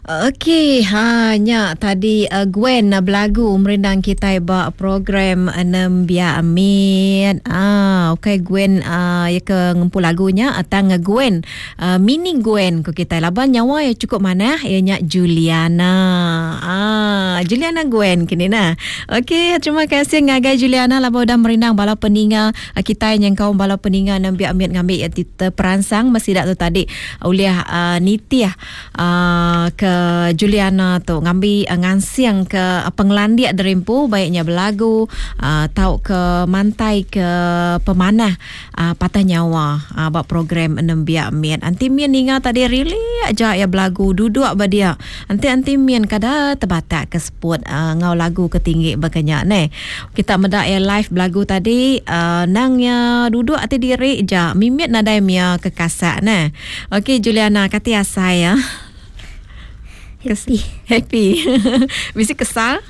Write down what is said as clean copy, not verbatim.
Okey, ha nya tadi uh, Gwen uh, belagu merindang kitai ba program Nembiak Mit. Ah, okey Gwen uh, ya ke ngempu lagu nya tang Gwen uh, mini Gwen ku kitai laban nyawa ya cukup manah iya nya Juliana. Ah, Juliana Gwen kini nah. Okey, terima kasih ngagai Juliana laban udah merindang bala peninga uh, kitai nyengkaum bala peninga Nembiak Mit ngambi ya teperansang mesti tu tadi ulih uh, nitih ke Juliana tu ngambi ngansing ke pengelandik diri empu baik nya belagu tau ke mantai ke pemanah patah nyawa ba program nembiak mit. Anti min ninga tadi rili aja iya belagu duduk ba dia. Enti anti min kada tebatak ke seput enggau lagu ke tinggi baka nya neh. Kita meda iya live belagu tadi nang iya duduk ati diri ja mimit nadai mia ke kasak neh. Okey Juliana kati asai ya? Happy. Happy. Bisi kesal?